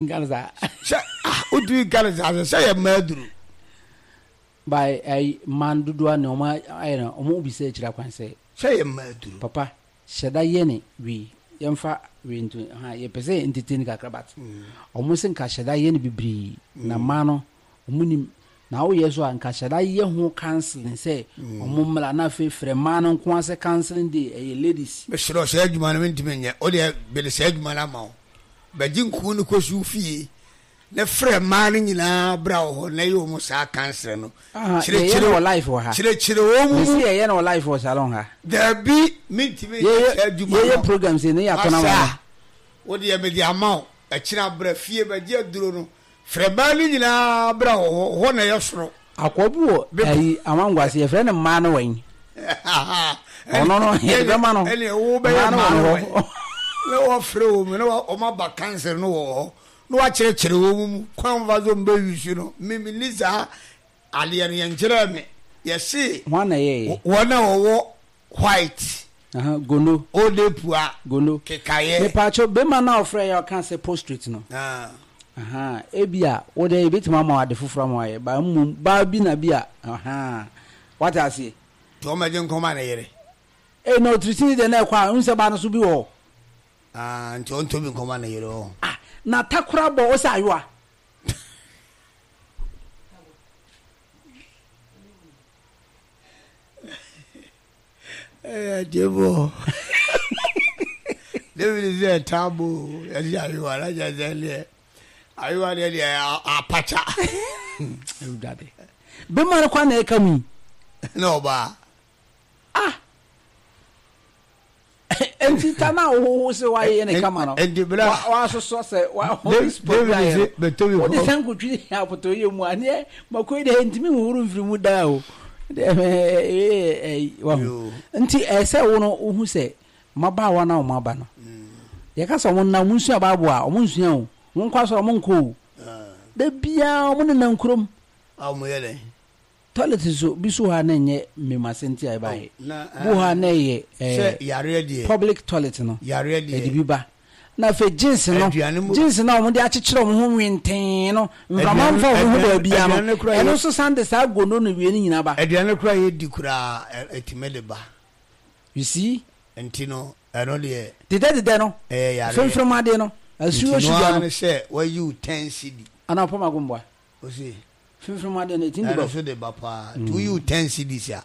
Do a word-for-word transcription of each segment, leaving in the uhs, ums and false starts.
Nka no saa. Sɛ ah wotumi nka no saa sɛ sɛ yɛ mmaa aduro. By ayi mmaa no dodoɔ a na wɔn ayɛ no wɔn bisa akyire akwan sɛ. Sɛ yɛ mmaa aduro. Papa hyɛ da yɛ ne wei yɛnfa wei nto ha yɛpɛ sɛ entertain kakra but wɔn se nka hyɛ da yɛ no bebree na mmaa no wɔn nim na woyɛ so a nka hyɛ da yɛ ho counseling sɛ wɔn mmra na afei frɛ mmaa no nko ara sɛ counseling day ɛyɛ ladies. Mesrɛ wo saa adwuma no mentumi nyɛ wodeɛ mede saa adwuma no ama wo. Bɛgye nkuo no kɔsi wo fie na frɛ mmaa no nyinaa bra wɔ hɔ na yɛ wɔn saa kansere no. Kyerɛkyerɛ wɔ life wɔ ha. Kyerɛkyerɛ wɔn mu. Mesi yɛyɛ no wɔ life wɔ salon ha. Dabi, mentumi nyɛ saa adwuma no. Yɛyɛ program sei ne yɛatɔ no ama wɔn. Wo deɛ mede ama wo, ɛkyena bra fie bɛgye aduro no. Frɛ mmaa no nyinaa bra wɔ hɔ, hɔ na ɛyɛ soro. Akoa bi wɔ ayi Amango ase yɛfrɛ no mmaa no wɛn. Ɔno no yɛde bɛma no. Ɛne wo bɛyɛ mmaa no wɛn. Na wɔfrɛ wɔn mu na wɔn aba kanser no wɔ hɔ na wɔakyerɛkyerɛ wɔn mu kwan fa so mbɛ yusu no. Me me ni saa adeɛ no yɛnkyerɛɛ me. Yɛse Hwan na ɛyɛeɛ? wɔn a wɔwɔ white. Aha, gono. Ode pua. Gono. Kekayɛ. Mepaakyɛw, bɛma no a ɔfrɛ yɛ ɔka sɛ postrate no. Ah. Aha, ebi a wo deɛ yɛbɛtumi ama wo ade foforɔ ama wayɛ, ba mmom baa bi na bi a, aha, wate aseɛ. Nti ɔmmɛgye nkɔma ne yere. Ei, na otirisini deɛ na ɛkɔ a, wohu sɛ baa no so bi wɔ hɔ. Ah, nti ɔntɔ bi nkɔma ne yere hɔ. Ah, na takora bɔ wo sɛ ayowa. Ɛyɛ gyebo. David sɛ taabo yɛsi ayewa na kyerɛ sɛ deɛ ayewa deɛ deɛ apakya. Awurade. Bɛma no kwa na ɛka mu yi. Na ɔbaa. Ah. Nti ta na wohoho sɛ woayɛ ne kama no. Nti bra. Woasosɔ sɛ Holy Spirit ayɛ no. Wode sankotwi apotɔyɛ mu a neɛ makoi deɛ ntumi nhohoro mfiri mu daa o. Wahu. Nti ɛsɛ wo no wohu sɛ mmabaawa no a wɔn aba no. Yɛka sɛ wɔn nna wɔn nsua Bible a wɔn nsua o. Wɔn nkɔ asɔre wɔn nkɔ o. Da biara wɔn nenam kurom. A wɔn yɛ dɛn? Toilet nso bi so hɔ a na ɛnyɛ mmemase nti a ɛbaeɛ. Bi wɔ hɔ a na ɛyɛ ɛɛ public toilet no ɛde bi ba. Na afei jeans no jeans no a wɔde akyekyere wɔn ho nwentee no mframa mfa wɔn ho baabiara no ɛno nso san de saa gono no wie no nyinaa ba. Aduane koraa yɛdi koraa ɛtumi de ba. You see? Nti no ɛno deɛ. Dedɛ dedɛ no. Ɛyɛ yareɛ. Fremfrem adeɛ no. Asuo Nti no sugar ara no. ne sɛ wayi wo ten cedi. Anaa ɔpam agomboa. Ose. Fremfrem adeɛ no ɛtumi de ba Ɛno o. nso de ba paa. Nti woyi wo ten cedis a,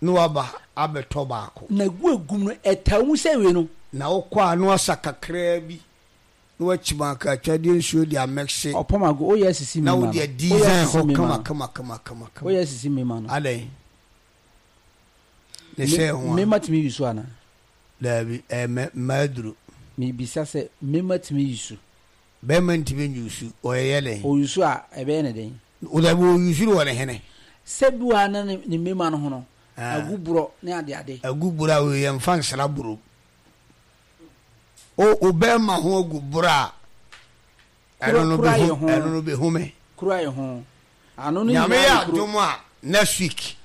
na waba abɛtɔ baako. Na gu egum no ɛtaa mu sɛ wei no. Na wokɔ a na wasa kakraa bi na wakyim akatwadeɛ nsuo de amɛkse. Ɔpam ago woyɛ asisi Na mema wode no. Woyɛ adesign asisi hɔ mema kama no. kama kama kama kama. Woyɛ asisi mema no. Adɛn? Ne sɛ ho a. Mema tumi yi so anaa? Daabi, ɛyɛ mɛ mmaa aduro. Mebisa sɛ mema tumi yi so? Bɛrima ntumi nyusu, ɔyɛ dɛn? Ɔyusu a, ɛbɛyɛ ne dɛn? Dabi, ɔyusu no wɔ ne hene. Sɛ bi wɔ ha na ne ne mmarima no ho no, agu borɔ ne adeade. Agu borɔ a, wei yɛmfa nsra borɔ mu. O, o bɛrima ho agu borɔ a, ɛno no Kura bɛhu, yɛ ho. ɛno no bɛhu me. Kura yɛ ho. Ano no Nyame nyinaa yɛ yɛ kuro. adom a, next week,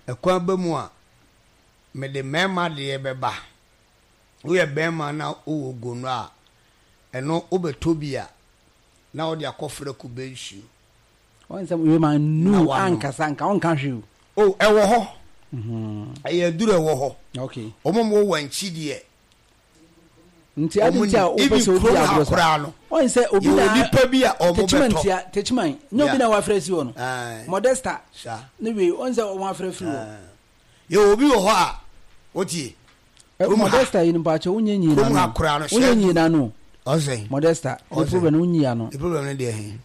ɛkwan ba mu a, mede mmarima deɛ bɛba. Woyɛ barima na wowɔ gono a, ɛno wobɛtɔ bi a, na wode akɔfra kube nsuo. Wɔn sɛ wei ma Na nu wanom. ankasa nka ɔnka hwee o. Oh, ɛwɔ hɔ. Ɛyɛ aduru ɛwɔ hɔ. Okay. Wɔn a wɔwɔ wankyi deɛ. Nti adi Wɔn nti a nim. wopɛ Even sɛ obi kurom ha agorɔ sa. koraa no, Wɔn sɛ obi yɛwɔ na nipa bi a wɔn Techiman bɛtɔ. tia Techiman nyɛ obi Yeah. na wafrɛ si hɔ no. Aye. Modesta Saa. ne wei wɔn sɛ wɔn afrɛ firi hɔ. Aye. Yɛwɔ obi wɔ hɔ a, wotie. Eh, Kurom ha. Modesta yi no mpakyɛ wonyɛ nyi Kurom ha n'ano. koraa no, Wonyɛ sɛ nyi n'ano. Ɔsɛn. Modesta ne Ɔsɛn. problem no wonyi ano. Ne problem no deɛ he.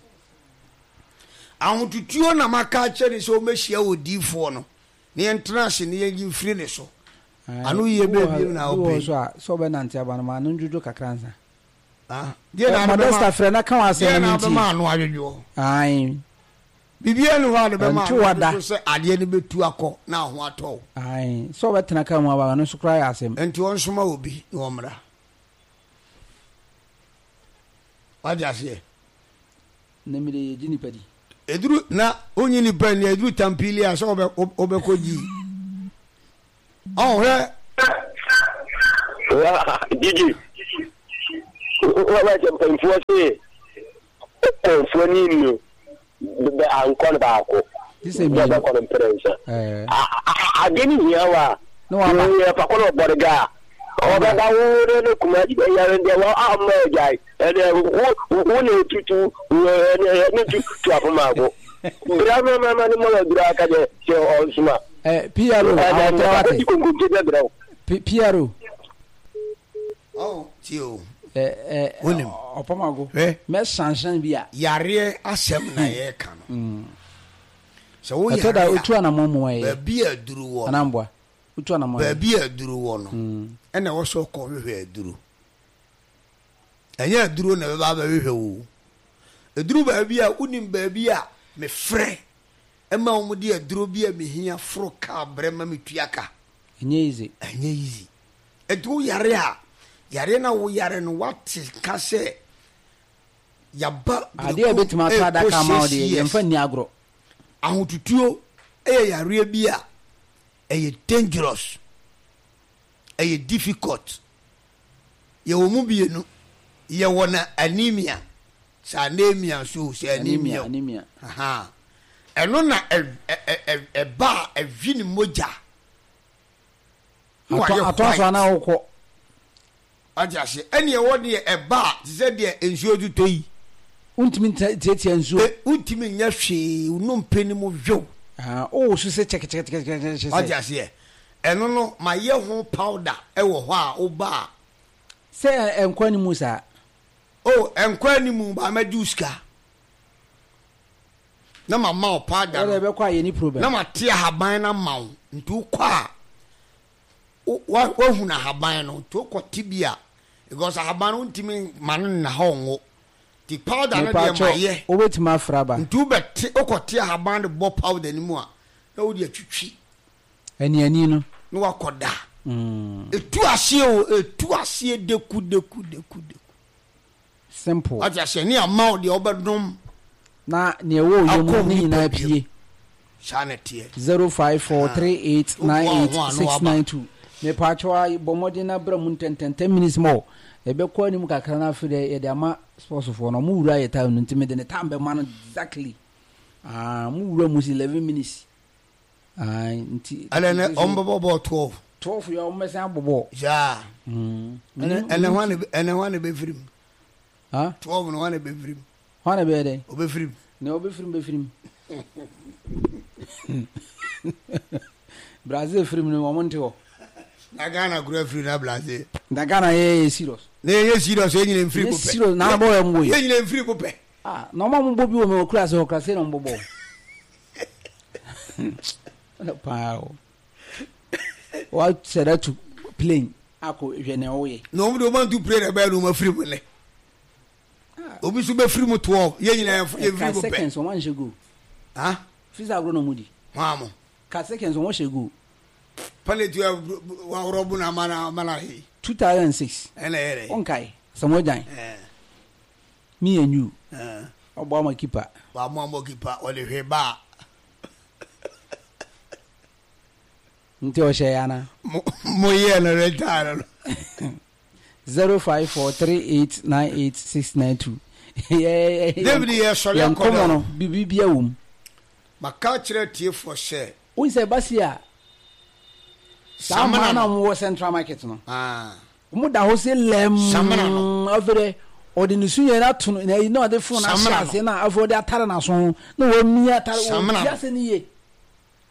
Ahotutuo na maka akyerɛ ne sɛ ɔmmɛhyia odiyifoɔ no na yɛntena ase na yɛnyi mfiri ne so. Ano yie Bi wɔ bɛɛ hɔ bio na bi wɔ hɔ wopɛ. so a sɛ ɔbɛnante aba no ma ano ndwodwo kakra ansa. Ah, deɛ na ade Modesta bɛma frɛ na ka w'asɛm deɛ na na mentie. abɛma ano adwodwoɔ. Ae. Biribiara ni hɔ a de bɛma Ɛnto ano wada. adwodwo sɛ adeɛ no bɛtu akɔ na ho atɔ wo. Ae. Sɛ ɔbɛtena kaa mu aba no nso koraa yɛ asɛm. Nti ɔnsoma obi na ɔmmra. Wate aseɛ? Na mi de yɛgye nipa di. Eduru na wonyi nipa ni eduru tampili a sɛ wobɛ wobɛkɔ gyi. Ɔhwɛ. Gigi. Wɔsɛ mpanyinfoɔ se kɔnfoɔ ni nu bɛ ankɔ no baako. Sɛ bɛkɔ no mpere nsa. Ade ne hia wa. Na waba. Fa kɔ no ɔbɔre ga. Ɔbɛba wo ne ne kuma yɛre deɛ wɔ ama agyae. Ɛnɛ wo wo na etutu ɛnɛ ne tu tu afɔmaako. Bra ma ma ma ne mɔ dura aka deɛ sɛ ɔnsoma. Eh, P R O, awɔtɛ wate. Konkonte bɛbrɛ wo. P R O. Oh, tie o. Eh, eh, Wonim. Ɔpɔmago. Hwɛ. Mɛsansan bi a. Yareɛ asɛm na yɛreka no. Sɛ wo Ɛtɔ da yare otu a, anammɔn mu ɛyɛ. Baabi a aduru wɔ no. Anamboa. Otu anammɔn. Baabi a aduru wɔ no, ɛna ɛwɔ sɛ ɔkɔ hwehwɛ aduro. Ɛnyɛ aduro na ɛbɛba abɛhwehwɛ wo. Eduru baabi a wonim baabi a mefrɛ ɛma wɔn de aduro bi a mehia foro kaa brɛ ma metua ka. Ɛnyɛ easy. Ɛnyɛ easy. Nti wo yare a, yare na wo yare no, wate ka sɛ yaba. Adeɛ a ebetumi ato adaka ama wo deɛ, yɛmfa nni agorɔ. Ahotutuo ɛyɛ yareɛ bi a ɛyɛ dangerous, ɛyɛ difficult. Yɛwɔ mu bienu. Yɛwɔ na anemia, sɛ anemia nso, sɛ anemia. Anemia. Ɛno na ɛba a ɛhwi ne mogya. Atɔ so ana wokɔ. Ate ase? Ɛne ɛwɔ deɛ ɛba a te sɛ deɛ nsuo tutɔ yi. Wontumi tiatia nsuo. Wontumi nyɛ hwee, nnompe no mu hwew. Wowo so sɛ kyɛkɛkyɛkɛkyɛkɛ. Ate aseɛ? Ɛno no, mayɛ ho powder ɛwɔ hɔ a woba a. Sɛ ɛnkɔ animu saa. O, ɛnkɔ animu ba, mɛgye wo sika na ma ma wo powder no. Ɛbɛkɔ a yɛ ni problem. Na ma te ahaban no ama wo, nti wokɔ a wahunu ahaban no, nti wokɔ te bi a, because ahaban no wontumi ma no nna hɔ nwo, nti powder no deɛ ma yɛ. Wobɛtumi afra ba. Nti wobɛte, wokɔte ahaban no bɔ powder no mu a, na wode atwitwi. Aniani no. Na wakɔ da. Etu aseɛ o, etu aseɛ deku deku deku deku. Simple. Wate aseɛ? Ne ama wo deɛ wobɛdom. Na nea ɛwɔ oyɛ mu ne nyinaa pie. Saa na ɛteɛ. Zero five four three eight nine eight six nine two. Mepatwa, bɔ mmɔden na bra mu ntɛntɛn, ten minutes more. Yɛbɛkɔ anim kakra na afei deɛ yɛde ama sportsfoɔ no. Ɔmo wura yɛ time no, nti mede ne time bɛma no exactly. Ah, mo wura mu si eleven minutes. Ah, nti. Ɛnɛ nɛ ɔmo bɛbɔ bɔɔl twelve. Twelve yɛ, ɔmo bɛsan abɔ bɔɔl. Yaa. Ɛnɛ ɛnɛ hwan na ɛnɛ hwan na ɛbɛfiri mu? Ha? Twelve no, hwan na ɛbɛfiri mu? Hwan na ɛbɛyɛ dɛ? Ɔbɛfiri mu. Nea ɔbɛfiri mu bɛfiri mu. Brazil firi mu no, wɔn nte hɔ. Na Ghana kura firi na Brazil. Na Ghana yɛ yɛ serious. Na yɛ serious, yɛ nyina mfiri ko pɛ. Serious na abɔ yɛ mo yi. Yɛ nyina mfiri ko pɛ. Ah, na ɔmo a mo bɔ bi wɔ mi wɔ kura ase hɔ kura se na ɔmo bɔ bɔɔl. Paa o. Wa sɛ dɛ tu plane akɔ hwɛ nea ɔyɛ. Na ɔmo de ɔmo antu plane ɛbɛyɛ na ɔmo afiri mu nɛ. Obi nso bɛfiri mu twelve, yɛ nyina yɛ mfiri ko pɛ. Seconds ɔmo anhyɛ goal. Ha? Fisa agorɔ na ɔmo di. Hɔn amo. Ka seconds ɔmo hyɛ goal. Penalty wa wɔrɔ bu na ama na ama na he. Two thousand and six. Ɛna yɛ dɛ. Ɔnkae Samuel Gyan. Me and you. Ɔbɔ ama keeper. Wa mo ama keeper, ɔde hwɛ ba. Nti ɔhyɛ ya na. Mo mo yɛ no retire no. Zero five four three eight nine eight six nine two. David yɛ sɔre Yɛn akɔda. Nkɔmɔ no bibi bia wɔ mu. Maka kyerɛ tiefoɔ sɛ. Wọ́n sɛ basi a saa mmaa na wɔn wɔ Central Market no. Wɔn da hɔ sɛ lɛm. Samina no. Afei dɛ ɔde ne su yɛn ato no na eyi na ɔde phone ahyɛ ase na afei ɔde atare n'aso ho na wɔamia atare Samina wɔn no. ti ase ne yie.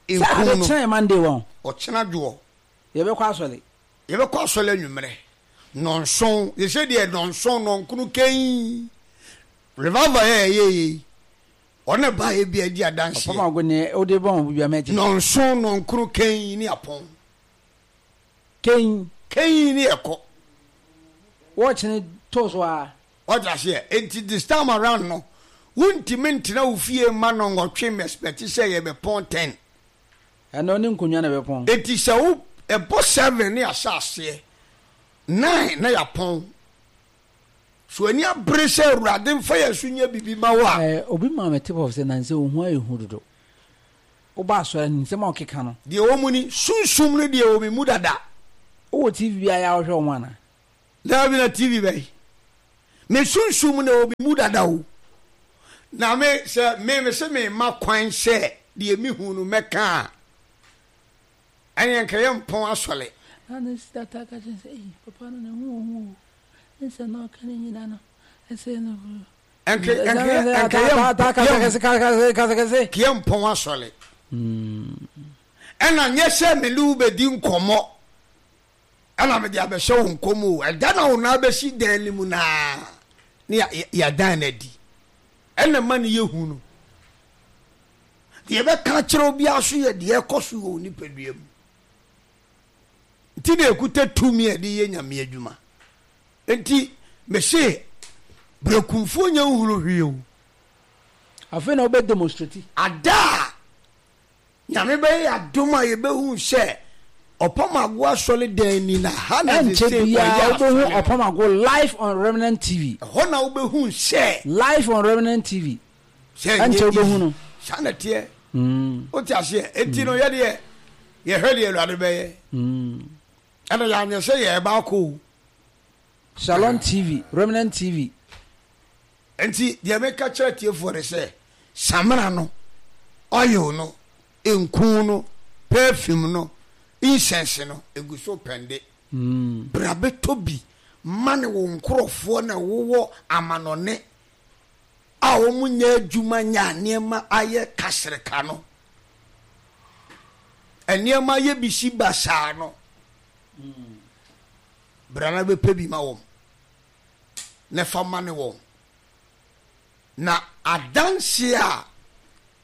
Sɛ ade no. Kyerɛ yɛ Monday wɔn. Ɔkyena dwoɔ. Yɛbɛkɔ asɔre. Yɛbɛkɔ asɔre anwummerɛ nɔnson, yɛsɛ deɛ nɔnson nɔnkono kɛn revival yɛ yɛyɛ yi, ɔne ba yɛ bi adi adanseɛ. Ɔpam ago ne ɔde bɔ wɔn bi amɛgye. Nɔnson nɔnkono kɛn ne apɔn. Kɛn. Kɛn ne ɛkɔ. Wɔɔkyene to so a. Ɔte aseɛ? Enti this time around no, wontumi ntena wo fie mma nɔnwɔtwe mɛspɛte sɛ yɛbɛpɔn ten. Ɛno ne nkonnwa na ɛbɛpɔn. Enti sɛ wo ɛbɔ seven ne ahyɛ aseɛ nine na yɛapɔn so, ani abere sɛ Awurade mfa yɛn so nyɛ biribi ma wo a. Ɛɛ, obi maa me tip off sɛ nansɛ ohu ayɛ hu dodo. Woba asɔre, nsɛm a ɔkeka no. Deɛ wɔ mu ni, sunsum no deɛ wɔ me mu dada. Wowɔ T V bi a yɛ a wohwɛ wɔn ana? Daabi, na T V bɛyi. Me sunsum na ɛwɔ me mu dada o. Na me sɛ me me se me ma kwan sɛ deɛ me hu no mɛka a, ɛneɛ nka yɛ mpɔn asɔre. Na ne sista taa ka kyerɛ no sɛ, Ei, papa no ne ho wɔ hu o, ne nsɛm na ɔka ne nyina no, ɛsɛ no. Nka nka nka yɛ yɛ mpɔn asɔre. Ɛna nyɛ sɛ me ne wo bɛdi nkɔmmɔ ɛna mede abɛhyɛ wo nkɔm o. Ɛda na wo nan bɛsi dan no mu naa ne yɛadan no adi. Ɛna ma no yɛ hu no. Deɛ yɛbɛka akyerɛ obiara so yɛ deɛ ɛkɔ so wɔ wo nipadua mu. Nti na ɛkuta tumi a ɛde yɛ Nyame adwuma. Nti mese brɛkumfoɔ nyɛ nhunu hwee o. Afei na wobɛ demonstrate. Ada a Nyame bɛyɛ adom a yɛbɛhu sɛ Ɔpam Ago asɔre dan ni na ha na Ɛnkyɛ sese biara wɔyɛ wobɛhu asɔre no. Ɔpam Ago live on Remnant T V. Ɛhɔ na wobɛhu sɛ. Live on Remnant T V. Sɛ Ɛnkyɛ ɛnyɛ wobɛhu easy. no. Saa na ɛteɛ. Wote aseɛ? Enti no yɛdeɛ yɛhwɛ deɛ Awurade bɛyɛ. Ɛna yɛanyɛ sɛ yɛreba akɔ o. Shalom T V, Remnant T V. Enti deɛ meka kyerɛ atiefoɔ ne sɛ, samina no, oil no, nku no, perfume no, incense no, ɛgu so pɛnde. Bra bɛtɔ bi ma ne wo nkurɔfoɔ na wowɔ amanɔne a wɔn nyɛ adwuma nyɛ a nneɛma ayɛ kasereka no. Nneɛma ayɛ bisi basaa no. Bra na bɛpɛ bi ma wɔn na fa ma ne wɔn. Na adanseɛ a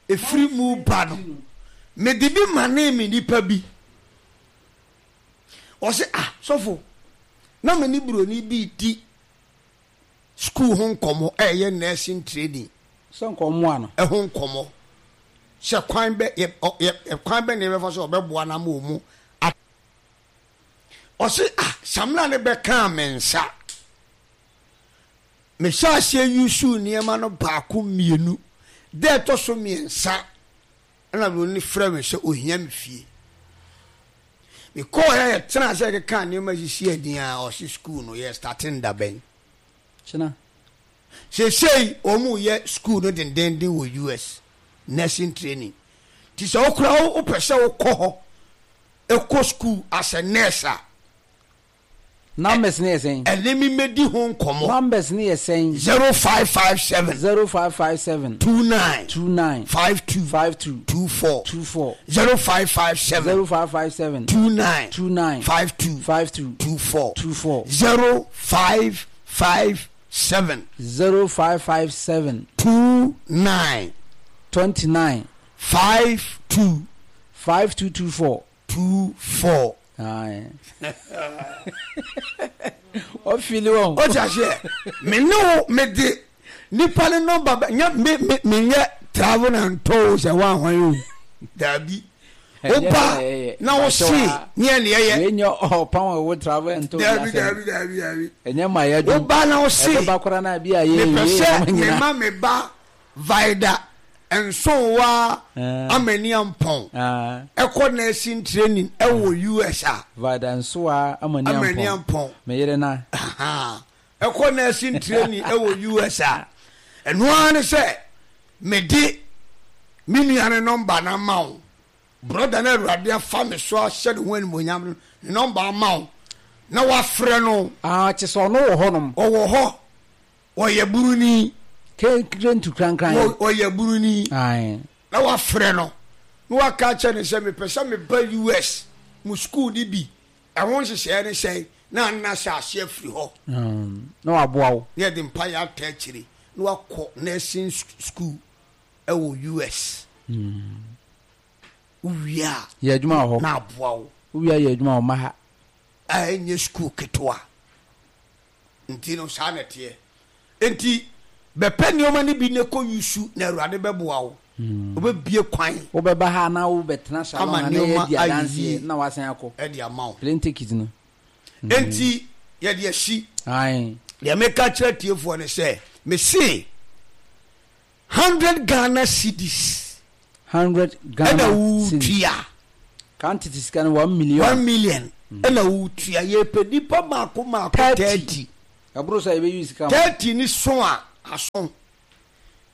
ɛfiri mu ba no, mede bi manee me nipa bi. Ɔse, ah, sɔfo, na me ne buroni bi di sukuu ho nkɔmmɔ, ɛyɛ nursing training. Sɛ nkɔmmoa no. Ɛho nkɔmmɔ. Sɛ kwan bɛ, yɛ, yɛ, kwan bɛ na yɛbɛfa so ɔbɛboa no ama ɔmu. Ɔse, ah, samina ne bɛkaa me nsa. Mehyɛ aseɛ yusuu nneɛma no baako mmienu. Da ɛtɔ so mmiɛnsa, ɛna buroni frɛ me sɛ ohia me fie. Mekɔɔ yɛ yɛtena ase yɛkeka nneɛma sisi ani a ɔse sukuu no yɛ starting da bɛn. Kyena. Seesei wɔn yɛ sukuu no dendenden wɔ U S nursing training. Nti sɛ wokora wopɛ sɛ wokɔ hɔ ɛkɔ sukuu as a nurse a, Numbers ne yɛ sɛn? Ɛne me mɛdi ho nkɔmmɔ. Numbers ne yɛ sɛn? zero five five seven. zero five five seven. two nine. two nine. five two. five two. two four. two four. zero five five seven. zero five five seven. two nine. two nine. five two. five two. two four. two four. zero five five seven. zero five five seven. two nine. twenty nine. five two. five two two four. two four. Aye. Ɔfili wɔn. O ti aseɛ, me ne wo me de nipa ne nɔmba bɛ nyɛ me me me nyɛ travel and tour sɛ wa ahwan o daabi woba na wo se ne yɛ ne yɛyɛ. Wei nyɛ ɔpan a wo travel and tour. Daabi daabi daabi daabi. Ɛnyɛ ma yɛ dwom. Woba na wo se. Ɛbɛba koraa na bi a yɛ mepɛ sɛ me ma me ba Vida Nsowa Amani Ampɔn ɛkɔ nursing training ɛwɔ U S a. Vida Nsowa Amani Ampɔn. Me yere na. Ɛkɔ nursing training ɛwɔ U S a, ɛno ara ne sɛ mede me nua ne nɔmba no ama wo, brother no Awurade afa me so ahyɛ ne ho animonyam no ne nɔmba ama wo na wafrɛ no. Ah, kyɛ sɛ ɔno wɔ hɔnom. Ɔwɔ hɔ, ɔyɛ buruni. Kentu krankran. Ɔyɛ buruni. Na wafrɛ no na waka kyerɛ no sɛ mepɛ sɛ meba U S mu school ni bi, ɛho nhyehyɛeɛ ne sɛn, na anna hyɛ aseɛ afiri hɔ. Na waboa wo. Na yɛde mpaeɛ ata akyire na wakɔ nursing school ɛwɔ U S. Wowie a, yɛ adwuma wɔ hɔ. Na aboa wo. Wowie a, yɛ adwuma wɔ ma ha. A ɛnyɛ school ketewa. Nti no saa na ɛteɛ. Nti bɛpɛ nneɛma no bi ne kɔ yusu na Awurade bɛboa wo. Wobɛbie kwan. Wobɛba ha na wobɛtena Shalom ama ha na nneɛma yɛadi ayɛ adanseɛ yie na wasan akɔ. Ɛde ama wo. Plane ticket no. Nti yɛde asi. Ae. Deɛ meka kyerɛ tiefoɔ ne sɛ mese hundred Ghana cedis. Hundred Ghana ɛna cedis. wotua. Kan tete sika no one million. One million ɛna wotua. Yɛpɛ nipa maako maako Thirty. Thirty. Ɛboro so a yɛbɛyi sika ma. Thirty ne so a aso.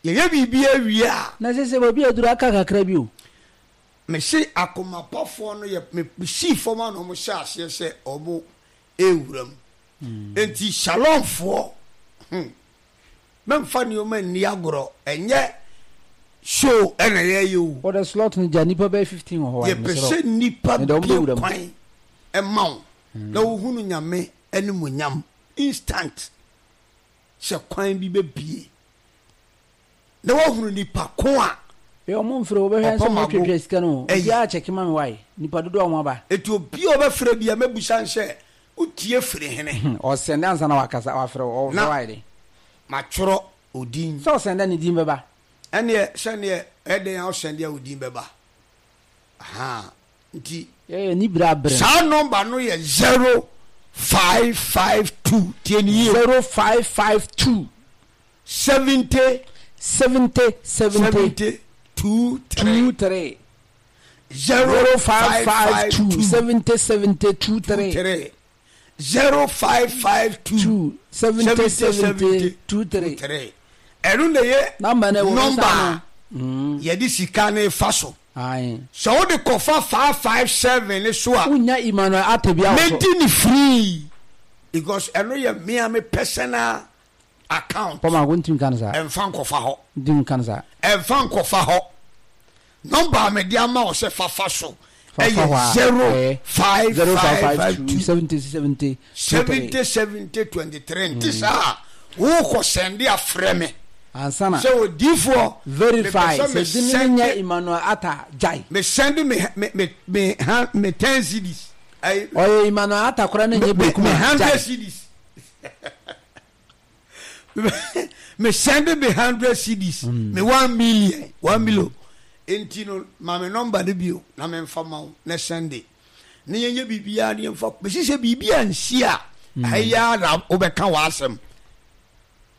Yɛyɛ biribi awie a. Na sese baabi a aduru aka kakra bi o. Mese akomapafoɔ no yɛ me sii fam a na wɔn hyɛ aseɛ sɛ wɔn rewura mu. Enti Shalomfoɔ, hmm, mɛmfa nneɛma nni agorɔ, ɛnyɛ show ɛna yɛyɛ o. Wɔde slot no gya nnipa bɛyɛ fifteen wɔ hɔ a, Yɛpɛ mesrɛ wo. sɛ nnipa Mede wɔn bue bɛwura mu. kwan ma wo na wohunu Nyame animuonyam instant sɛ kwan bi bɛbue. Na woahunu nipa ko a Hwɛ ɔmo mfrɛ wo bɛhwɛ nso ɔpam ɔmo ago twetwe sika no o ɛyɛ. Obiara kyɛke ma me wai nipa dodoɔ a ɔmo aba. Enti obi a ɔbɛfrɛ biara mɛbusa no sɛ wotie firi hene? Ɔsɛnde ansa na wakasa wafrɛ wo ɔfrɛ Na wo ayɛ den. matwerɛ odin. Sɛ ɔsɛnde a ne din bɛba. Ɛneɛ sɛdeɛ ɛyɛ dɛn a ɔsɛnde a odin bɛba ahaa nti. Yɛyɛ ni bere abere no. Saa nɔmba no yɛ zero five five two tie no yie o. Zero five five two. Seventy. Seventy seventy. Seventy two three. Two three. Zero five five two. Seventy seventy two three. Two three. Zero five five two. Two seventy seventy two three. Three. Ɛno na yɛ nɔmba a yɛde sika no fa so. Sɛ wode kɔfa five five seven ne so a. Wonya Emmanuel Atta bi awɔ so. Medi ne free because ɛno yɛ mea me personal account. Pɔmako ntumi nka no saa. Ɛnfa nkɔfa hɔ. Ntumi nka no saa. Ɛnfa nkɔfa hɔ. Nɔmba a mede ama wo sɛ fafa so ɛyɛ zero five five two seventy seventy seventy seventy twenty three. Nti saa wokɔ sɛnde afrɛ me. Ansana. Sɛ odiifoɔ. Verify sɛ dini ne nyɛ Emmanuel Atta gyae. Me sɛnde me me me me ha me ten cedis. Ɔyɛ Emmanuel Atta koraa ne nyɛ bekum a gyae. Me hundred cedis. Me send me hundred cedis mm. me one million one million nti no ma me nɔmba no bio na memfa ma wo na sɛnde na yɛnyɛ biribiara ne yɛmfa mesi sɛ biribi ansi a mm. ɛyɛ na wobɛka w'asɛm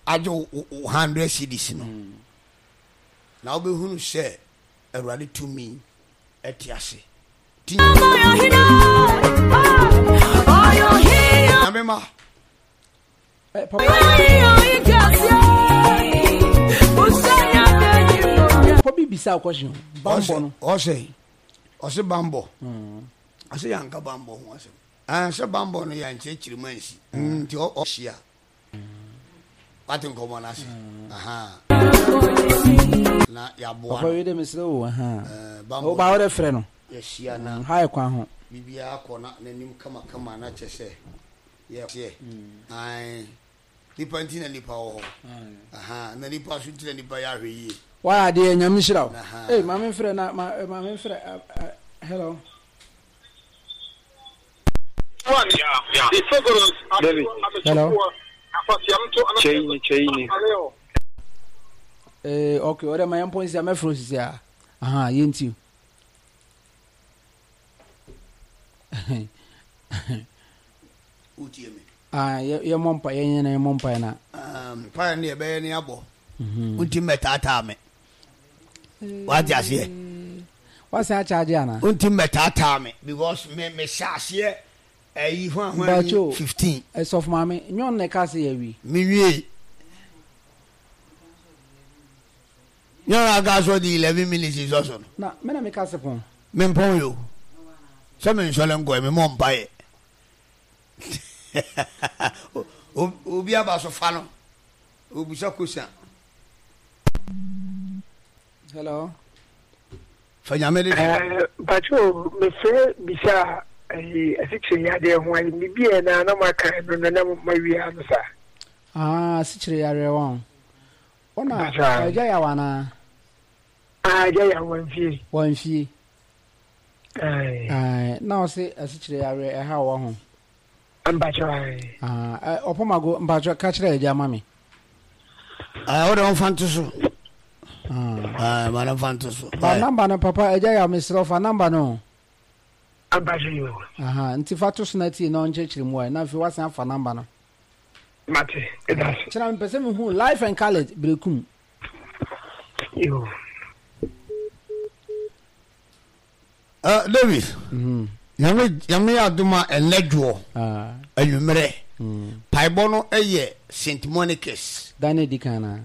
agye wo hundred cedis no mm. na wobɛhunu sɛ awurade tumi ɛte ase nyame ma Papa bi bisa question bambɔ no. Ɔsɛ ɔsɛ bambɔ ɔsɛ yanka bambɔ ho asɛm ɛn sɛ bambɔ no yɛnkyerɛkyerɛ mu ansi nti ɔhyia wate nkɔmmɔ no ase na yɛaboa papa wei de mesrɛ o woba wode frɛ no yɛhyia na ha yɛ kwan ho biribiara kɔ na n'anim kamakama na kyɛ sɛ Yɛ ae nipa nti na nipa wɔ hɔ ahaa na nipa so nti na nipa yɛ ahwɛ yie. Wayɛ adeɛ nyame nhyira wo. Ei maame mfrɛ na ma maame mfrɛ hello. Hello. Chaini chaini. Eh okay, ɔdɛ ma yɛn pɔn sisi a mɛfrɛ sisi a. Aha yɛn ti. Wotie me? Ah, yɛmmɔ mpa yɛnyɛ na yɛmmɔ mpaeɛ na. Mpaeɛ no yɛbɛyɛ ne abɔ. Wonti mmɛtaataa me. Wate aseɛ? Wasan akyagye ana? Wonti mmɛtaataa me because me mehyɛ aseɛ ɛyi ho ahoa fifteen. Ɛsɔfo maame, nyɛ ɔno na ɛka sɛ yɛawie. Mewie. Nyɛ ɔno aka sɛ ɔde eleven minutes nsɔ so no. Na me na meka se pɔn. Mempɔn yo. Sɛ mensɔre nkɔɛ, memmɔ mpaeɛ. Obi aba so fa no. Obusa kosa. Hello. Fa nyame de. Eh, mpacho mefrɛ bisa ayi asikyire yadeɛ ho ayi bibi ɛ na na maka no na na mawia no saa. Ah, asikyire yareɛ wɔn. Ɔna agya yaw anaa? Ah, agya yaw wɔn fie. Wɔn fie. Ayi. Na ɔse asikyire yareɛ ɛha wɔ ho. Mpacho ayi. Ah, ɔpɔmago mpacho ka kyerɛ agya ma me. Ah, wode ɔmfa nto so. Ah, ma no mfa nto so. Ba namba no papa agya yaw mesrɛ fa namba no. Mpacho yo. Aha, nti fa to so na tie na ɔnkyerɛkyerɛ mu ayi na afei wasan afa namba no. Mate, ɛda so. Kyerɛ mepɛ sɛ mehu life and college brekum. Yo. Uh, David, nyame nyame yɛ adom a ɛnɛ dwoɔ anwummerɛ Paebɔ no yɛ Saint Monica's. Dan no edi kan anaa?